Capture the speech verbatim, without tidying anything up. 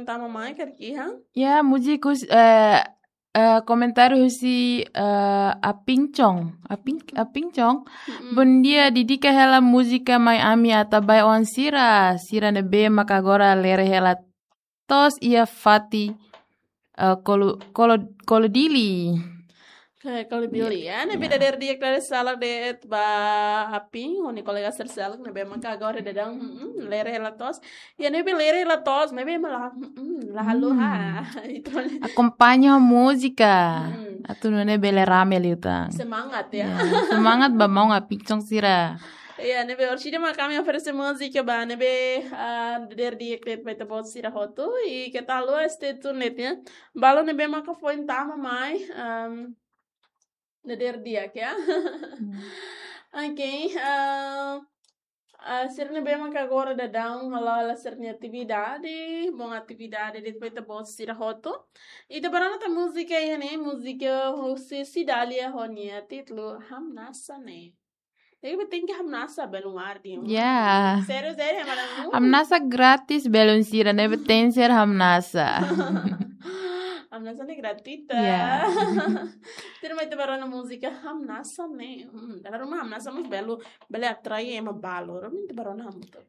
tama mai karik iha. Ya, múzikus eh eh, komentáriu husi eh, Apinchong. Apin Apinchong. Bom dia, dedika hela múzika mai ami atabae-oan sira. Sira ne'ebé maka agora lere hela to'os iha fatin eh, kolo kolo kolo Dili. Kolo Dili ya, ne'ebé dadeer di'ak, dadeer salak de'it ba Apin, ho nia kolega sira seluk ne'ebé maka agora daudaun, hmm, lere hela to'os. Ya, ne'ebé lere hela to'os, ne'ebé malah, hmm, la haluha. Itu Akompaña múzika. Atu nune'e bele rame liután. Semangat ya. Ya, semangat ba maun Apinchong sira. Ya, ne'ebé orsida maka ami oferese múzika ba ne'ebé ah, dadeer di'ak de'it ba ita-boot sira hotu. I keta haluha stay tuned de'it ya. Balu ne'ebé maka foin tama mai, um, dadeer di'ak ya. Ok, ah, ah, sira ne'ebé maka agora daudaun hala'o hela sira-nia atividade, bom atividade de'it ba ita-boot sira hotu. Ita bá rona tan múzika iha ne'e, múzika husi Cidalia ho nia títulu Hamnasa Ne'e. Ne'ebé tenke hamnasa belun ardiun. Ya. Sériu, sériu, ema laran. Hamnasa grátis belun sira ne'ebé tenke ser hamnasa. Hamnasa ne'e gratuita. Ya. Terus mai ita bá rona múzika Hamnasa Ne'e. Hmm, dala ruma hamnasa mós belu, bele atrai ema balu. Ruma ita bá rona hamutuk.